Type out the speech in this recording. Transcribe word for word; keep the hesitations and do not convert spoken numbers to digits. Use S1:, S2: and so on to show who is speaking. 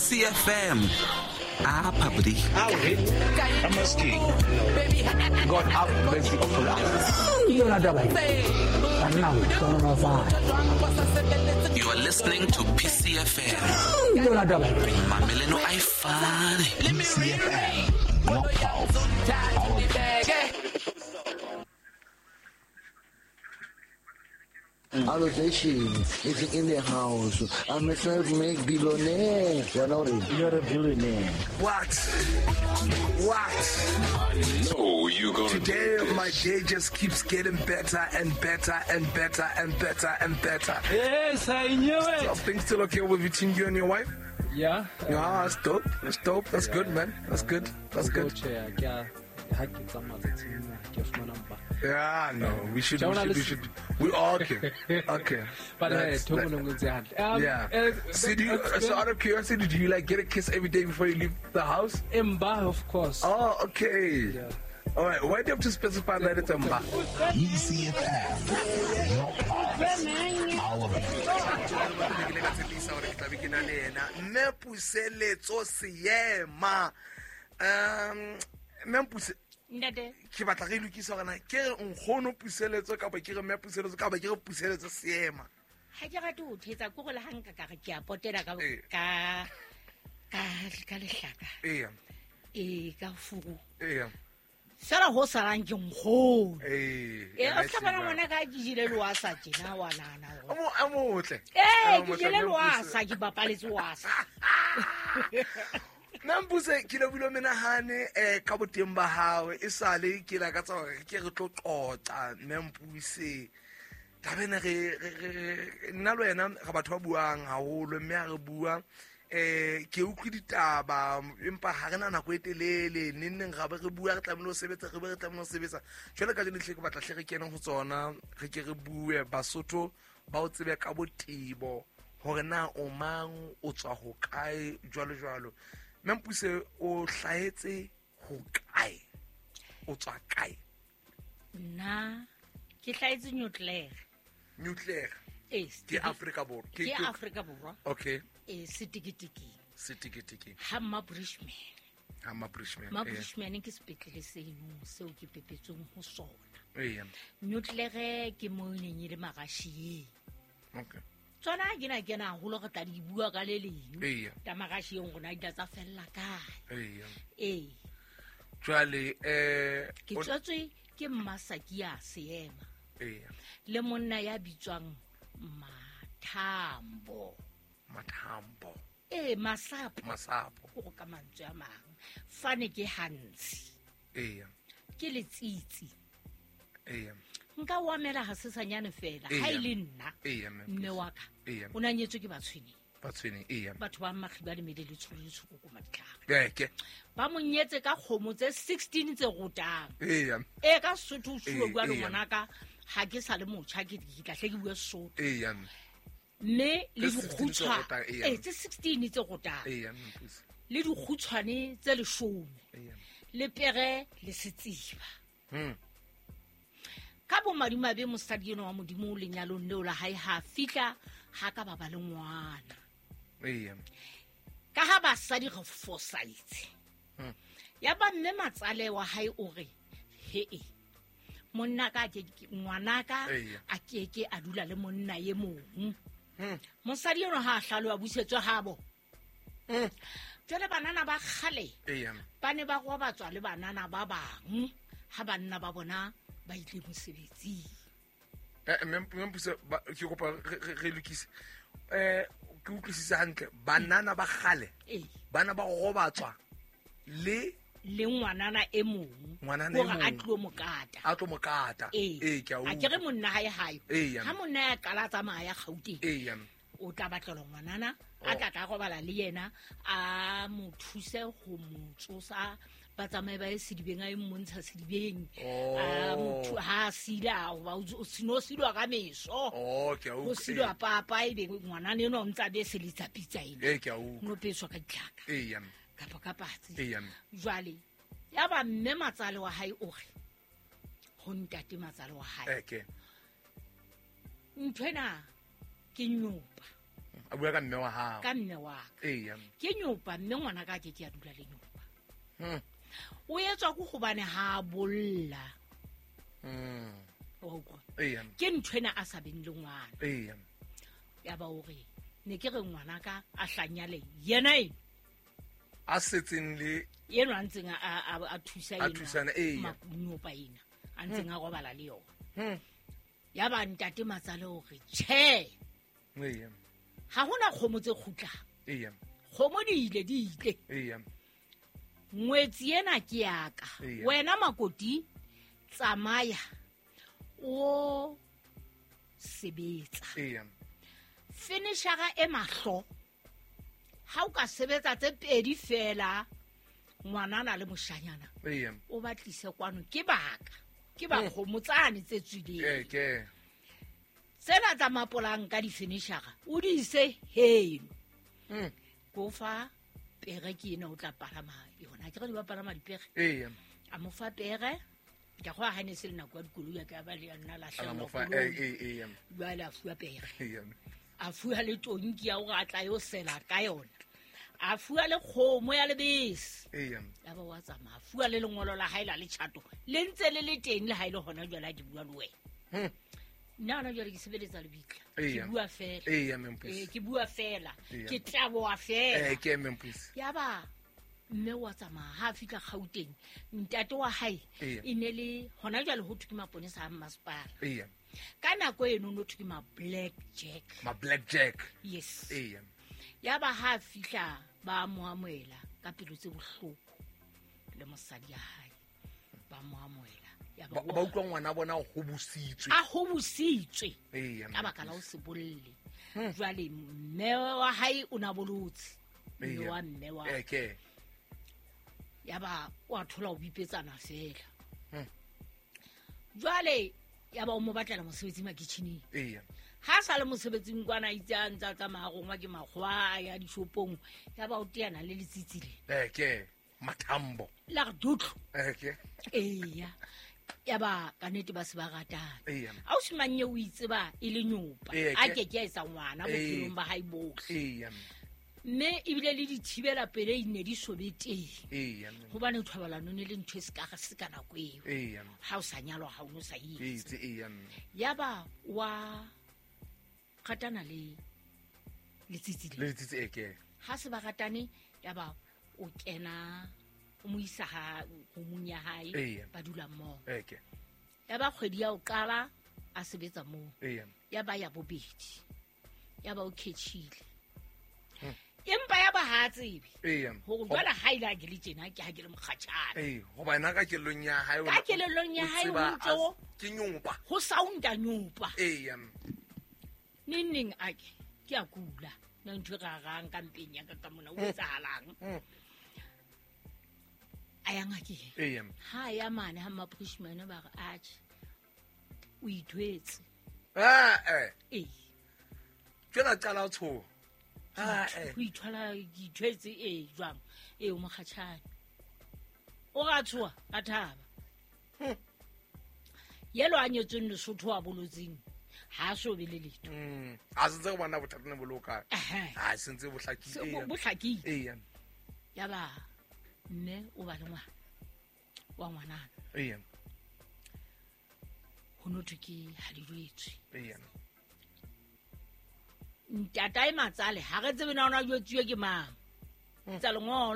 S1: E C F M. Ah, public.
S2: I'm asking. God have mercy upon us.
S1: You are listening to P C F M. Mameleno Ifane.
S2: P C F M. Your pulse. Our
S3: Allocation is in the house. I'm a self-made billionaire. You're not a,
S4: You're a billionaire.
S5: What? What?
S6: I know you're gonna
S5: Today,
S6: do this.
S5: My day just keeps getting better and better and better and better and better.
S7: Yes, I knew it.
S5: So things still okay with between you and your wife?
S7: Yeah.
S5: Yeah, that's dope. That's dope. That's
S7: yeah,
S5: good, man. That's good. That's good. Yeah, no, we should, we should, we should, we all okay, okay.
S7: But
S5: uh,
S7: um,
S5: yeah.
S7: Uh,
S5: so, do you, so out of curiosity, do you like get a kiss every day before you leave the house?
S7: Mba, of course.
S5: Oh, okay.
S7: Yeah.
S5: All right. Why do you have to specify that it's Mba?
S2: E C F M, your pulse, our beat.
S5: Um, Mme
S8: Ntate
S5: ke batla re lokisa hore na ke re nkgono Puseletso kapa ke re mme Puseletso kapa ke re Puseletso Seema.
S8: Ha ke rate ho thetsa ke gore le ha nka ka re ke a potela ka ka ka ka lehlaka.
S5: Ee.
S8: Ee ka furu.
S5: Ee.
S8: Fela ho salang ke nkgono.
S5: Ee.
S8: Ee o tla bona ngwana ka ke jile loasa tjena wa nana.
S5: O mo a motle.
S8: Ee ke jile loasa ke bapaletse wasa.
S5: Mme ke lebohile menahane eh ka boteng ba hao e sale ke la ka tsa hore ke re tlo qoqa Mme Mpuse taba ena re nna le wena re batho ba buang haholo mme ha re bua eh ke utlwe ditaba empa ha re na nako e telele neng neng ra be re bua re tlamehile ho sebetsa re be re tlamehile ho sebetsa jwale ka jeno hle ke batla hle re kene ho tsona re ke re bue Basotho ba o tsebe ka botebo hore na o mang o tswa ho kae jwalo jwalo. Mme Mpuse o hlahetse ho kae? O tswa kae?
S8: Nna ke hlahetse Newclare.
S5: Newclare.
S8: Eh,
S5: ke Afrika Borwa.
S8: Ke Afrika Borwa.
S5: Okay.
S8: Eh, setikitiki.
S5: Setikitiki.
S8: Ha Mma Brishman.
S5: Ha Mma Brishman.
S8: Mma Brishman ke sepetlele seno seo ke pepetsweng ho sona.
S5: Eh.
S8: Newclare ke mo neng e le Magashieng.
S5: Okay.
S8: Tsona ke na kena haholo re tla di bua ka le leng.
S5: Eya.
S8: Ta Magashieng rona di tla tsa fella kae.
S5: Eya.
S8: Ee.
S5: Jwale eh
S8: ke tswetswe ke Mmasakia Seema.
S5: Eya.
S8: Le monna ya bitswang Mathambo.
S5: Mathambo.
S8: Ee, Masapo.
S5: Masapo.
S8: Go ka mantswe a mang. Fane ke Hansi.
S5: Eya.
S8: Ke Letsitsi.
S5: Eya.
S8: Nka o amela ha sesanyane fela ha ile nna mme wa ka o na nyetswe ke Batshweneng.
S5: Batshweneng eya.
S8: Batho ba Makgiba le mele le tsholo le tshoko ko maditlhare.
S5: Ke
S8: ba mo nyetse ka kgomo tse sixteen tse rotang.
S5: Eya.
S8: E ka Sotho o suwe bua le ngwanaka ha ke sa le motjha ke ke tla hle ke bua Sotho.
S5: Eya.
S8: Mme le dikgutshwa e tse sixteen tse rotang.
S5: Eya.
S8: Le dikgutshwane tse leshome.
S5: Eya.
S8: Le pere le setsiba.
S5: Hmm.
S8: Ka bo madimabe mosadi eno wa Modimo lenyalong leo la hae ha fihla ha ka ba ba le ngwana.
S5: Eya.
S8: Ka ha basadi re fosaitse.
S5: Hmm.
S8: Ya ba mme matsale wa hae o re he e monna ka ke ngwana ka a ke ke a dula le monna ye mong.
S5: Hmm.
S8: Mosadi eno ha hlalo a busetswe habo.
S5: Hmm.
S8: Jwale banana ba kgale.
S5: Eya.
S8: Ba ne ba robatswa le banana ba bang ha banna ba bona ba ile mosebetsing.
S5: Eh mme Mpuse ke kopa re lokise. Eh ke utlwisisa hantle banana ba kgale.
S8: Eh.
S5: Bana ba robatswa le
S8: le ngwanana e mong.
S5: Ngwanana e mong.
S8: A tlo mokata.
S5: A tlo mokata.
S8: Eh
S5: ke a utlwa.
S8: A ke re monna hae hae. Ha monna ya qala tsamaya Gauteng.
S5: Eh.
S8: O tla batlelwa ngwanana a tla tla robala le yena a mo thuse ho mo tsosa ba tsamaye ba ye sedibeng a e mmontsha sedibeng a motho ha sila ba o sino silwa ka meso
S5: oh ke a
S8: o silwa papa e be ngwana ne no ntsa be selitsa pitsa ena
S5: e ke a utlwa
S8: no peswa ka ditlhaka
S5: e ya
S8: kapa ka patsi
S5: e ya
S8: jwale ya ba mme matsale wa hae o re ho ntate matsale wa hae
S5: e ke
S8: nthwena ke nyopa
S5: A bua ka mme wa hao.
S8: Ka mme wa ka.
S5: Eya.
S8: Ke nyopa mme ngwana ka ke ke a dula le nyopa.
S5: Mm.
S8: O etswa go gobane ha bolla.
S5: Mm.
S8: Wa utlwa.
S5: Eya.
S8: Ke nthwena a sa beng le ngwana.
S5: Eya.
S8: Ya ba o re ne ke re ngwana ka a hlanyale yena e.
S5: A setseng le
S8: yena a ntseng a a thusa
S5: yena. A thusana eya.
S8: Nyopa ena. A ntseng a robala le yona. Mm. Ya ba ntate Matsale o re tjhe.
S5: Eya.
S8: Ha hona kgomo tse kgutlang.
S5: Eya.
S8: Kgomo di ile di ile.
S5: Eya.
S8: Ngwetsi ena ke ya ka. Wena makoti tsamaya o sebetsa.
S5: Eya.
S8: Finishara e mahlo. Ha o ka sebetsa tse pedi fela ngwana na le moshanyana.
S5: Eya.
S8: O batlise kwano ke baka. Ke ba kgomo tsane tse tswileng.
S5: Eh ke.
S8: Tsena tsa mapolang ka di-finishara o di ise heno.
S5: Mm.
S8: Ko fa pere ke ena o tla palama yona. Ke re di ba palama dipere.
S5: Eya.
S8: A mo fa pere. Ke go ha ne se le nako ya dikoloi ya ka ba le nna la
S5: hlelo. A mo fa eh eh eh.
S8: Jwale a fuwa pere.
S5: Eya.
S8: A fuwa le tonki ya hore a tla yo sela ka yona. A fuwa le kgomo ya lebese.
S5: Eya.
S8: Ya ba wa tsamaya. A fuwa le lengolo la hae la letjhato. Le ntse le le teng le ha ile hona jwale a di bua le wena.
S5: Mm.
S8: Nna hona jwale ke sebeletsa lebitla. Ke bua fela.
S5: Eya Memphis.
S8: Eh ke bua fela. Ke tlaboa fela.
S5: Eh ke Memphis.
S8: Ya ba mme wa tsamaya ha fihla Gauteng. Ntate wa hae e ne le hona jwale ho thwe ke maponesa a masepala.
S5: Eya.
S8: Ka nako eno no thwe ke ma Black Jack.
S5: Ma Black Jack.
S8: Yes.
S5: Eya.
S8: Ya ba ha fihla ba mo amohela ka pelo tse bohloko le mosadi ya hae. Ba mo amohela.
S5: Ba ba utlwa ngwana bona o hobositswe.
S8: A hobositswe.
S5: Eya.
S8: Ka baka la o se bolle. Jwale mme wa hae o na bolotse. Mme wa mme wa.
S5: Eh ke.
S8: Ya ba wa thola o bipetsana fela. Jwale ya ba o mo batlela mosebetsi makitjhining.
S5: Eya.
S8: Ha sa le mosebetsing kwana itse a ntsa tsamaya gongwa ke makgwa ya dishopong ya ba o teana le letsitsi le.
S5: Eh ke mathambo.
S8: La re dutlo.
S5: Eh ke.
S8: Eya. Ya ba ka nnete ba se ba ratana.
S5: Eya.
S8: A o simanye o itseba e le nyopa. A ke ke a etsa ngwana bophelong ba hae bohle.
S5: Eya.
S8: Mme ebile le dithibela pele ne di sobe teng.
S5: Eya.
S8: Hobane thobalano ne le ntho e se ka se ka nako eo.
S5: Eya.
S8: Ha o sa nyalwa ha o no sa itse.
S5: Eya.
S8: Ya ba wa ratana le letsitsi
S5: le. Letsitsi e ke.
S8: Ha se ba ratane ya ba o kena o mo isa ha romong ya hae ba dula mmoho.
S5: Eke.
S8: Ya ba kgwedi ya o qala a sebetsa moo.
S5: Eya.
S8: Ya ba ya bobedi. Ya ba o ketchile. Empa ya ba ha tsebe.
S5: Eya.
S8: Hore jwale ha ile a ke le tjena ke ha ke le mokgatjhane.
S5: Ee, hoba ena ka kellong ya hae
S8: Ka kellong ya hae o ntso
S5: ke nyopa.
S8: Ho sounda nyopa.
S5: Eya.
S8: Neng neng a ke ke a kula. Nna ntho e rarang ka mpeng ya ka ka mona o etsahalang. A ya ngakeng.
S5: Eya.
S8: Ha ya mane ha maprishmane ba re atjhe. O ithwetse.
S5: Ah eh.
S8: Ee.
S5: Jwale a qala ho tshoha. Ah eh.
S8: O ithwala ke ithwetse e jwang? E o mokgatjhane. O ra tshoha a thaba. Yelo a nyetsweng Lesotho a bolotseng. Ha so be le letho.
S5: Mm. A sentse go bona bothata ne boloka. Ha sentse bo hlakile.
S8: Bo hlakile.
S5: Eya.
S8: Ya ba mme o ba le ngwana wa ngwanana.
S5: Eya.
S8: Ho no thwe ke ha di jwetswe.
S5: Eya.
S8: Ntatae Matsale ha re tsebe na ona jwetsuwe ke mang. Tsa lengolo